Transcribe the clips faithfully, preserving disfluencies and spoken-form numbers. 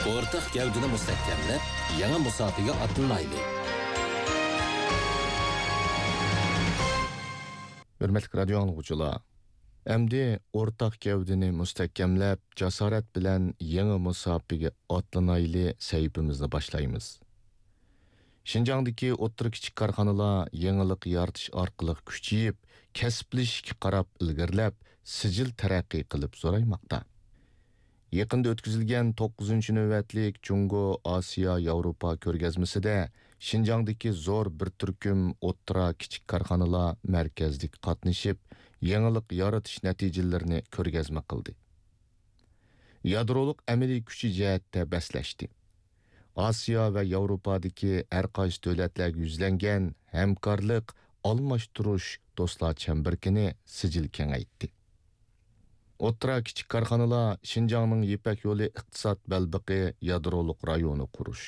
ئورتاق گەۋدىنى مۇستەھكەملەپ، يېڭى مۇساپىگە ئاتلىنايلى! ھۆرمەتلىك رادىيو ئاڭلىغۇچىلار، ئەمدى ئورتاق گەۋدىنى مۇستەھكەملەپ، جاسارەت بىلەن يېڭى مۇساپىگە ئاتلىنايلى سەھىپىمىزنى باشلايمىز. شىنجاڭدىكى ئوتتۇرا، كىچىك كارخانىلار يېڭىلىق يارىتىش ئارقىلىق كۈچىيىپ، كەسىپلىشىشكە قاراپ ئىلگىرىلەپ، سىجىل تەرەققىي قىلىپ زورايماقتا. يېقىندا ئۆتكۈزۈلگەن توققۇزىنچى نۆۋەتلىك جۇڭگو ئاسىيا ياۋروپا كۆرگەزمىسىدە شىنجاڭدىكى زور بىر تۈركۈم ئوتتۇرا، كىچىك كارخانىلار مەركەزدىكى قاتنىشىپ، يېڭىلىق يارىتىش نەتىجىلىرىنى كۆرگەزمە قىلدى. يادرولۇق ئەمەلىي كۈچى جەھەتتە بەسلەشتى. ئاسىيا ۋە ياۋروپادىكى ھەر قايسى دۆلەتلەرگە يۈزلەنگەن ھەمكارلىق، ئالماشتۇرۇش دوستلار چەمبىرىكىنى سىجىل كېڭەيتتى. ئوتتۇرا، كىچىك كارخانىلار شىنجاڭنىڭ يىپەك يولى ئىقتىساد بەلبېقى يادرولۇق رايونى قۇرۇش،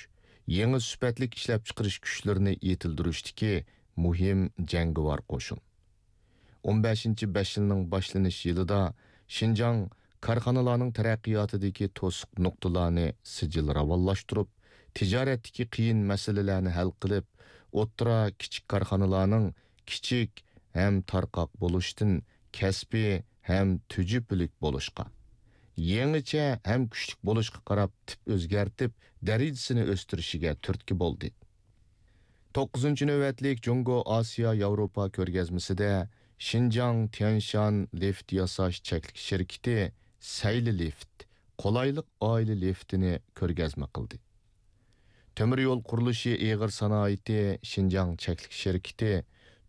يېڭى سۈپەتلىك ئىشلەپچىقىرىش كۈچلىرىنى يېتىلدۈرۈشتىكى مۇھىم جەڭگىۋار قوشۇن. ئون بەشىنچى بەش يىلنىڭ باشلىنىش يىلىدا شىنجاڭ كارخانىلارنىڭ تەرەققىياتىدىكى توسۇق نۇقتىلارنى سىجىل راۋانلاشتۇرۇپ، تىجارەتتىكى قىيىن مەسىلىلەرنى ھەل قىلىپ، ئوتتۇرا، كىچىك كارخانىلارنىڭ كىچىك ھەم تارقاق بولۇشتىن كەسپىي ھەم تۈجۈپىلىك بولۇشقا، يېڭىچە ھەم كۈچلۈك بولۇشقا قاراپ تىپ ئۆزگەرتىپ، دەرىجىسىنى ئۆستۈرۈشىگە تۈرتكە بولدى. توققۇزىنچى نۆۋەتلىك جۇڭگو ئاسىيا ياۋروپا كۆرگەزمىسىدە شىنجاڭ تيەنشان لىفت ياساش چەكلىك شىركىتى سەيلى لىفت، قولايلىق ئائىلە لىفتىنى كۆرگەزمە قىلدى. تۆمۈر يول قۇرۇلۇشى ئېغىر سانائىتى شىنجاڭ چەكلىك شىركىتى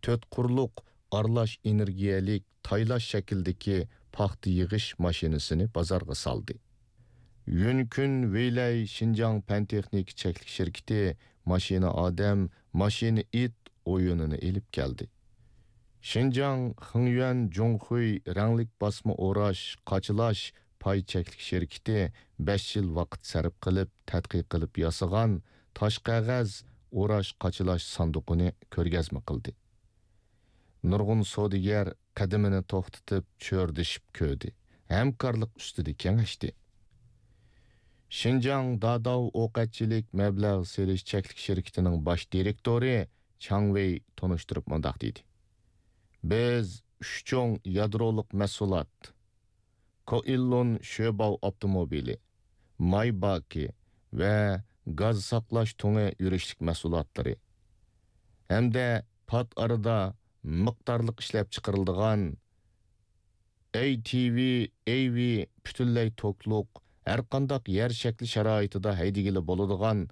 تۆت قۇرلۇق ئارىلاش ئېنېرگىيەلىك تايلاش شەكلىدىكى پاختا يىغىش ماشىنىسىنى بازارغا سالدى. يۈنكۈن ۋېيلەي شىنجاڭ پەن تېخنىكا چەكلىك شىركىتى ماشىنا ئادەم، ماشىنا ئىت ئويۇنىنى ئېلىپ كەلدى. شىنجاڭ خېڭيۈەن جۇڭخۇي رەڭلىك باسما ئوراش، قاچىلاش پاي چەكلىك شىركىتى بەش يىل ۋاقىت سەرپ قىلىپ، تەتقىق قىلىپ ياسىغان تاش قەغەز ئوراش، قاچىلاش ساندۇقىنى كۆرگەزمە قىلدى. نۇرغۇن سودىگەر قەدىمىنى توختىتىپ، چۆرىدىشىپ كۆردى، ھەمكارلىق ئۈستىدە كېڭەشتى. شىنجاڭ داداۋ ئوقەتچىلىك مەبلەغ سېلىش چەكلىك شىركىتىنىڭ باش دىرېكتورى چاڭ ۋېي تونۇشتۇرۇپ مۇنداق دېدى: بىز ئۈچ چوڭ يادرولۇق مەھسۇلات، كوئىللۇن شۆباۋ ئاپتوموبىلى، مايباكى ۋە گاز ساقلاش تۇڭى يۈرۈشلۈك مەھسۇلاتلىرى ھەمدە پات ئارىدا مىقدارلىق ئىشلەپچىقىرىلىدىغان ئەي تى ۋى، ئەي ۋى پۈتۈنلەي توكلۇق، ھەرقانداق يەر شەكلى شارائىتىدا ھەيدىگىلى بولىدىغان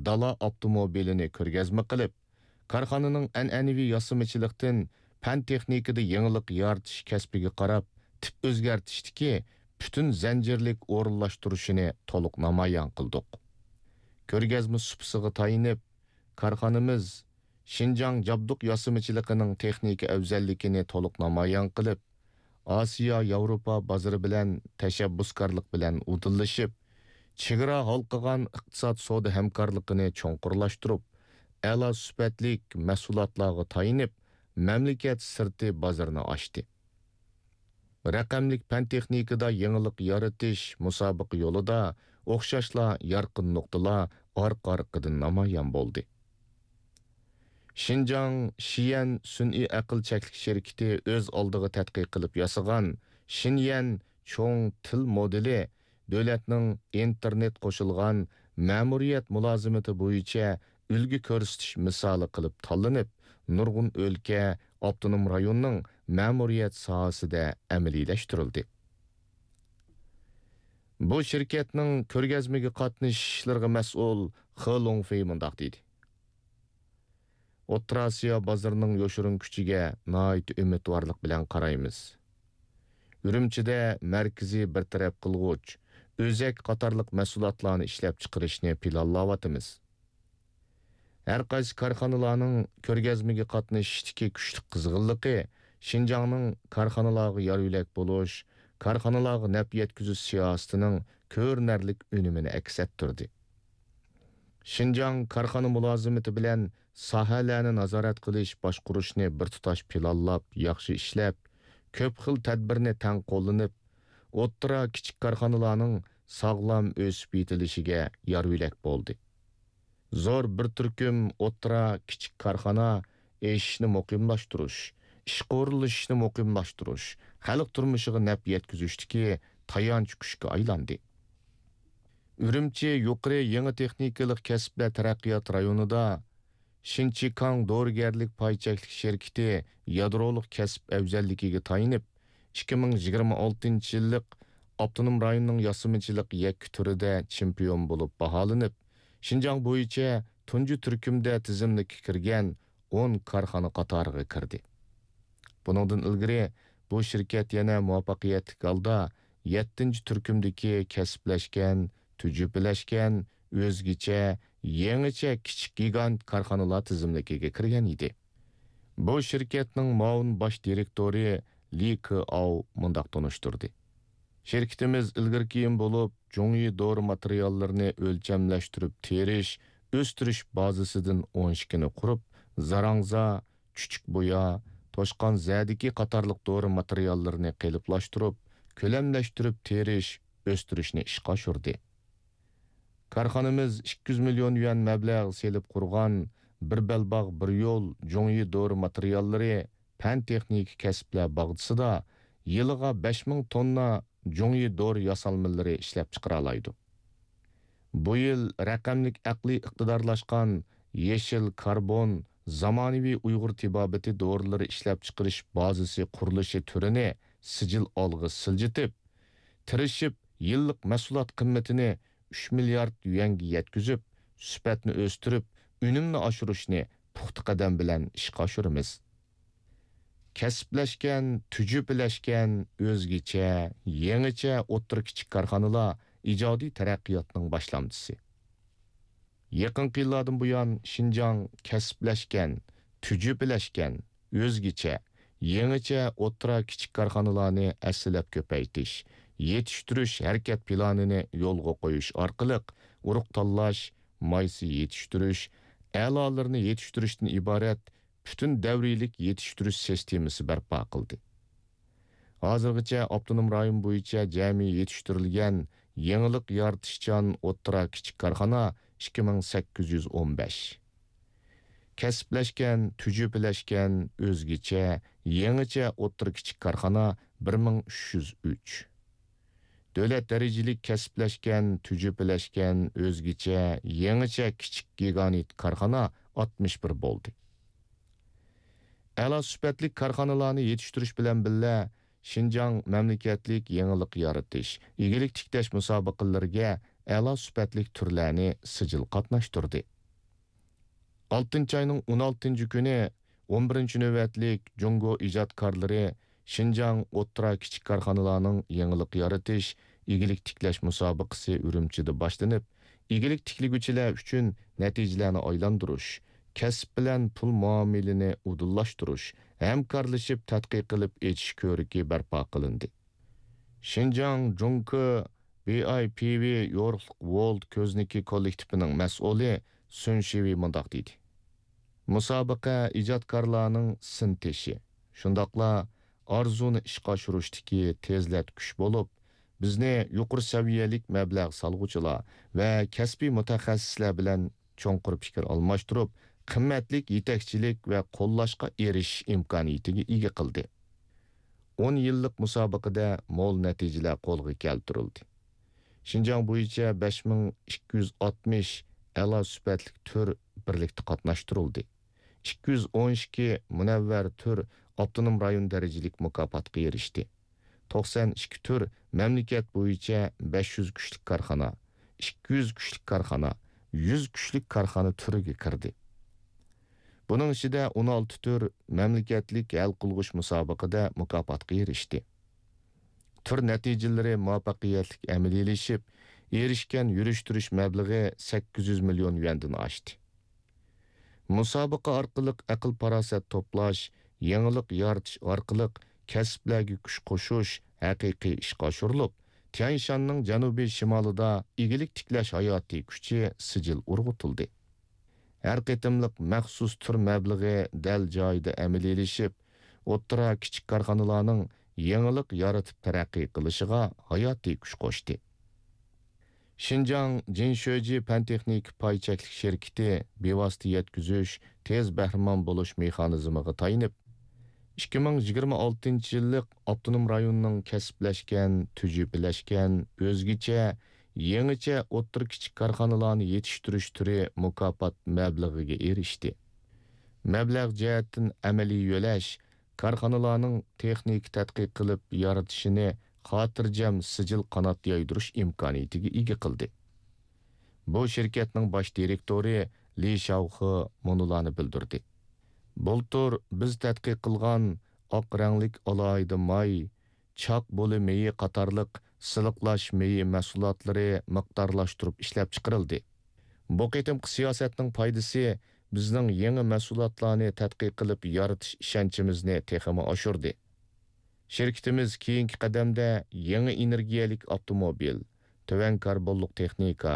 دالا ئاپتوموبىلىنى كۆرگەزمە قىلىپ، كارخانىنىڭ ئەنئەنىۋى ياسىمىچىلىقتىن پەن تېخنىكىدا يېڭىلىق يارىتىش كەسپىگە قاراپ تىپ ئۆزگەرتىشتىكى پۈتۈن زەنجىرلىك ئورۇنلاشتۇرۇشىنى تولۇق نامايان قىلدۇق. كۆرگەزمە سۇپىسىغا تايىنىپ، كارخانىمىز شىنجاڭ جابدۇق ياسىمىچىلىقىنىڭ تېخنىكا ئەۋزەللىكىنى تولۇق نامايان قىلىپ، ئاسىيا، ياۋروپا بازىرى بىلەن تەشەببۇسكارلىق بىلەن ئۇدۇللىشىپ، چېگرا ھالقىغان ئىقتىساد سودا ھەمكارلىقىنى چوڭقۇرلاشتۇرۇپ، ئەلا سۈپەتلىك مەھسۇلاتلارغا تايىنىپ، مەملىكەت سىرتى بازىرىنى ئاچتى. رەقەملىك پەن تېخنىكىدا يېڭىلىق يارىتىش مۇسابىقە يولىدا ئوخشاشلا يارقىن نۇقتىلار ئارقا-ئارقىدىن نامايان بولدى. شىنجاڭ شىيەن سۈنئىي ئەقىل چەكلىك شىركىتى ئۆز ئالدىغا تەتقىق قىلىپ ياسىغان شىنيەن چوڭ تىل مودېلى دۆلەتنىڭ ئىنتېرنېت قوشۇلغان مەمۇرىيەت مۇلازىمىتى بويىچە ئۈلگە كۆرسىتىش مىسالى قىلىپ تاللىنىپ، نۇرغۇن ئۆلكە، ئاپتونوم رايوننىڭ مەمۇرىيەت ساھەسىدە ئەمەلىيلەشتۈرۈلدى. بۇ شىركەتنىڭ كۆرگەزمىگە قاتنىشىش ئىشلىرىغا مەسئۇل خې لوڭفېي مۇنداق دېدى: ئوتتۇرا ئاسىيا بازىرىنىڭ يوشۇرۇن كۈچىگە ناھايىتى ئۈمىدۋارلىق بىلەن قارايمىز. ئۈرۈمچىدە مەركىزىي بىر تەرەپ قىلغۇچ، ئۆزەك قاتارلىق مەھسۇلاتلارنى ئىشلەپچىقىرىشنى پىلانلاۋاتىمىز. ھەر قايسى كارخانىلارنىڭ كۆرگەزمىگە قاتنىشىشتىكى كۈچلۈك قىزغىنلىقى شىنجاڭنىڭ كارخانىلارغا يار-يۆلەك بولۇش، كارخانىلارغا نەپ يەتكۈزۈش سىياسىتىنىڭ كۆرۈنەرلىك ئۈنۈمىنى ئەكس ئەتتۈردى. شىنجاڭ كارخانا مۇلازىمىتى بىلەن ساھەلەرنى نازارەت قىلىش، باشقۇرۇشنى بىر تۇتاش پىلانلاپ، ياخشى ئىشلەپ، كۆپ خىل تەدبىرنى تەڭ قوللىنىپ، ئوتتۇرا، كىچىك كارخانىلارنىڭ ساغلام ئۆسۈپ يېتىلىشىگە يار-يۆلەك بولدى. زور بىر تۈركۈم ئوتتۇرا، كىچىك كارخانا ئېشىشنى مۇقىملاشتۇرۇش، ئىشقورلىشىشنى مۇقىملاشتۇرۇش، خەلق تۇرمۇشىغا نەپ يەتكۈزۈشتىكى تايانچ كۈچكە ئايلاندى. ئۈرۈمچى يۇقىرى يېڭى تېخنىكىلىق كەسىپلەر تەرەققىيات رايونىدا شىنچىكاڭ دورىگەرلىك پاي چەكلىك شىركىتى يادرولۇق كەسىپ ئەۋزەللىكىگە تايىنىپ، ئىككى مىڭ يىگىرمە ئالتىنچى يىللىق ئاپتونوم رايوننىڭ ياسىمىچىلىق يەككە تۈرىدە چېمپىيون بولۇپ باھالىنىپ، شىنجاڭ بويىچە تۇنجى تۈركۈمدە تىزىملىككە كىرگەن ئون كارخانا قاتارىغا كىردى. بۇنىڭدىن ئىلگىرى، بۇ شىركەت يەنە مۇۋەپپەقىيەتلىك ھالدا يەتتىنچى تۈركۈمدىكى كەسىپلەشكەن، تۈجۈپىلەشكەن، ئۆزگىچە، يېڭىچە كىچىك گىگانت كارخانىلار تىزىملىكىگە كىرگەن ئىدى. بۇ شىركەتنىڭ مۇئاۋىن باش دىرېكتورى لى كېئاۋ مۇنداق تونۇشتۇردى: شىركىتىمىز ئىلگىرى كېيىن بولۇپ، جۇڭيى دورا ماتېرىياللىرىنى ئۆلچەملەشتۈرۈپ تېرىش، ئۆستۈرۈش بازىسىدىن ئون ئىككىنى قۇرۇپ، زاراڭزا، چۈچۈك بويا، توشقان زەدىكى قاتارلىق دورا ماتېرىياللىرىنى قېلىپلاشتۇرۇپ، كۆلەملەشتۈرۈپ تېرىش، ئۆستۈرۈشنى ئىشقا ئاشۇردى. كارخانىمىز ئىككى يۈز مىليون يۈەن مەبلەغ سېلىپ قۇرغان بىر بەلباغ بىر يول جۇڭيى دورا ماتېرىياللىرى پەن-تېخنىكا كەسىپلەر باغچىسىدا يىلىغا بەش مىڭ توننا جۇڭيى دورا ياسالمىلىرى ئىشلەپچىقىرالايدۇ. بۇ يىل رەقەملىك ئەقلىي ئىقتىدارلاشقان يېشىل كاربون، زامانىۋى ئۇيغۇر تېبابىتى دورىلىرى ئىشلەپچىقىرىش بازىسى قۇرۇلۇشى تۈرىنى سىجىل ئالغا سىلجىتىپ، تىرىشىپ، يىللىق مەھسۇلات قىممىتىنى ئۈچ مىليارد يۈەنگە يەتكۈزۈپ، سۈپەتنى ئۆستۈرۈپ، ئۈنۈمنى ئاشۇرۇشنى پۇختا قەدەم بىلەن ئىشقا ئاشۇرىمىز. كەسىپلەشكەن، تۈجۈپىلەشكەن، ئۆزگىچە، يېڭىچە ئوتتۇرا، كىچىك كارخانىلار ئىجادىي تەرەققىياتنىڭ باشلامچىسى. يېقىنقى يىللاردىن بۇيان، شىنجاڭ كەسىپلەشكەن، تۈجۈپىلەشكەن، ئۆزگىچە، يېڭىچە ئوتتۇرا، كىچىك كارخانىلارنى ھەسسىلەپ كۆپەيتىش، يېتىشتۈرۈش ھەرىكەت پىلانىنى يولغا قويۇش ئارقىلىق ئۇرۇق تاللاش، مايسا يېتىشتۈرۈش، ئەلالىرىنى يېتىشتۈرۈشتىن ئىبارەت پۈتۈن دەۋرىيلىك يېتىشتۈرۈش سىستېمىسى بەرپا قىلدى. ھازىرغىچە ئاپتونوم رايون بويىچە جەمئىي يېتىشتۈرۈلگەن يېڭىلىق يارىتىشچان ئوتتۇرا، كىچىك كارخانا ئىككى مىڭ سەككىز يۈز ئون بەش. كەسىپلەشكەن، تۈجۈپىلەشكەن، ئۆزگىچە، يېڭىچە ئوتتۇرا، كىچىك كارخانا بىر مىڭ ئۈچ يۈز ئۈچ. دۆلەت دەرىجىلىك كەسىپلەشكەن، تۈجۈپىلەشكەن، ئۆزگىچە، يېڭىچە كىچىك گىگانت كارخانا ئاتمىش بىر بولدى. ئەلا سۈپەتلىك كارخانىلارنى يېتىشتۈرۈش بىلەن بىللە، شىنجاڭ مەملىكەتلىك يېڭىلىق يارىتىش، ئىگىلىك تىكلەش مۇسابىقىلىرىگە ئەلا سۈپەتلىك تۈرلەرنى سىجىل قاتناشتۇردى. ئالتىنچى ئاينىڭ ئون ئالتىنچى كۈنى ئون بىرىنچى نۆۋەتلىك جۇڭگو ئىجادكارلىرى شىنجاڭ ئوتتۇرا، كىچىك كارخانىلارنىڭ يېڭىلىق يارىتىش، ئىگىلىك تىكلەش مۇسابىقىسى ئۈرۈمچىدە باشلىنىپ، ئىگىلىك تىكلىگۈچىلەر ئۈچۈن نەتىجىلەرنى ئايلاندۇرۇش، كەسىپ بىلەن پۇل مۇئامىلىنى ئۇدۇللاشتۇرۇش، ھەمكارلىشىپ تەتقىق قىلىپ ئېچىش كۆرىكى بەرپا قىلىندى. شىنجاڭ جۇڭكې بىئايپىۋى يورۇقلۇق ۋولت كۆزنىكى كوللېكتىپىنىڭ مەسئۇلى سۈن شىۋېي مۇنداق دېدى: مۇسابىقە ئىجادكارلارنىڭ سىنتېشى، شۇنداقلا ئارزۇنى ئىشقا ئاشۇرۇشتىكى تېزلەتكۈچ بولۇپ، بىزنى يۇقىرى سەۋىيەلىك مەبلەغ سالغۇچىلار ۋە كەسپىي مۇتەخەسسىسلەر بىلەن چوڭقۇر پىكىر ئالماشتۇرۇپ، قىممەتلىك يېتەكچىلىك ۋە قوللاشقا ئېرىشىش ئىمكانىيىتىگە ئىگە قىلدى. ئون يىللىق مۇسابىقىدە مول نەتىجىلەر قولغا كەلتۈرۈلدى. شىنجاڭ بويىچە بەش مىڭ ئىككى يۈز ئاتمىش ئەلا سۈپەتلىك تۈر بىرلىكتە قاتناشتۇرۇلدى. ئىككى يۈز ئون ئىككى مۇنەۋۋەر تۈر ئاپتونوم رايون دەرىجىلىك مۇكاپاتقا ئېرىشتى. توقسان ئىككى تۈر مەملىكەت بويىچە بەش يۈز كۈچلۈك كارخانا، ئىككى يۈز كۈچلۈك كارخانا، يۈز كۈچلۈك كارخانا تۈرىگە كىردى. بۇنىڭ ئىچىدە ئون ئالتە تۈر مەملىكەتلىك ھەل قىلغۇچ مۇسابىقىدە مۇكاپاتقا ئېرىشتى. تۈر نەتىجىلىرى مۇۋەپپەقىيەتلىك ئەمەلىيلىشىپ، ئېرىشكەن يۈرۈشتۈرۈش مەبلىغى سەككىز يۈز مىليون يۈەندىن ئاشتى. مۇسابىقە ئارقىلىق ئەقىل-پاراسەت توپلاش، يېڭىلىق يارىتىش ئارقىلىق كەسىپلەرگە كۈچ قوشۇش ھەقىقىي ئىشقا ئاشۇرۇلۇپ، تيەنشاننىڭ جەنۇبىي شىمالىدا ئىگىلىك تىكلەش ھاياتىي كۈچى سىجىل ئۇرغۇتۇلدى. ھەر قېتىملىق مەخسۇس تۈر مەبلىغى دەل جايىدا ئەمەلىيلىشىپ، ئوتتۇرا، كىچىك كارخانىلارنىڭ يېڭىلىق يارىتىپ تەرەققىي قىلىشىغا ھاياتىي كۈچ قوشتى. شىنجاڭ جىنشۆجى پەن-تېخنىكا پاي چەكلىك شىركىتى بىۋاسىتە يەتكۈزۈش، تېز بەھرىمەن بولۇش مېخانىزمىغا تايىنىپ، ئىككى مىڭ يىگىرمە ئالتىنچى يىللىق ئاپتونوم رايوننىڭ كەسىپلەشكەن، تۈجۈپىلەشكەن، ئۆزگىچە، يېڭىچە ئوتتۇرا، كىچىك كارخانىلارنى يېتىشتۈرۈش تۈرى مۇكاپات مەبلىغىگە ئېرىشتى. مەبلەغ جەھەتتىن ئەمەلىي يۆلەش كارخانىلارنىڭ تېخنىكا تەتقىق قىلىپ يارىتىشىنى خاتىرجەم سىجىل قانات يايدۇرۇش ئىمكانىيىتىگە ئىگە قىلدى. بۇ شىركەتنىڭ باش دىرېكتورى لى شاۋخې مۇنۇلارنى بىلدۈردى: بۇلتۇر بىز تەتقىق قىلغان ئاق رەڭلىك ئالاھىدە ماي، چاق بولى مېيى قاتارلىق سىلىقلاش مېيى مەھسۇلاتلىرى مىقدارلاشتۇرۇپ ئىشلەپچىقىرىلدى. بۇ قېتىمقى سىياسەتنىڭ پايدىسى بىزنىڭ يېڭى مەھسۇلاتلارنى تەتقىق قىلىپ يارىتىش ئىشەنچىمىزنى تېخىمۇ ئاشۇردى. شىركىتىمىز كېيىنكى قەدەمدە يېڭى ئېنېرگىيەلىك ئاپتوموبىل، تۆۋەن كاربونلۇق تېخنىكا،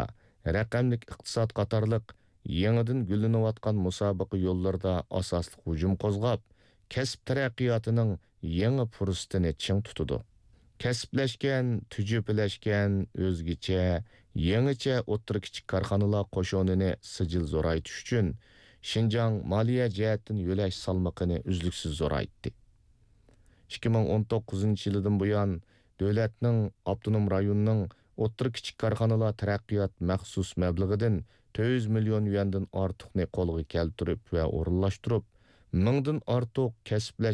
رەقەملىك ئىقتىساد قاتارلىق يېڭىدىن گۈللىنىۋاتقان مۇسابىقە يوللىرىدا ئاساسلىق ھۇجۇم قوزغاپ، كەسىپ تەرەققىياتىنىڭ يېڭى پۇرسىتىنى چىڭ تۇتىدۇ. كەسىپلەشكەن، تۈجۈپىلەشكەن، ئۆزگىچە، يېڭىچە ئوتتۇرا، كىچىك كارخانىلار قوشۇنىنى سىجىل زورايتىش ئۈچۈن شىنجاڭ مالىيە جەھەتتىن يۆلەش سالمىقىنى ئۈزلۈكسىز زورايتتى. ئىككى مىڭ ئون توققۇزىنچى يىلىدىن بۇيان، دۆلەتنىڭ، ئاپتونوم رايوننىڭ ئوتتۇرا، كىچىك كارخانىلار تەرەققىيات مەخسۇس مەبلىغىدىن تۆت يۈز مىليون يۈەندىن ئارتۇقنى قولغا كەلتۈرۈپ ۋە ئورۇنلاشتۇرۇپ، مىڭدىن ئارتۇق كەسىپلەر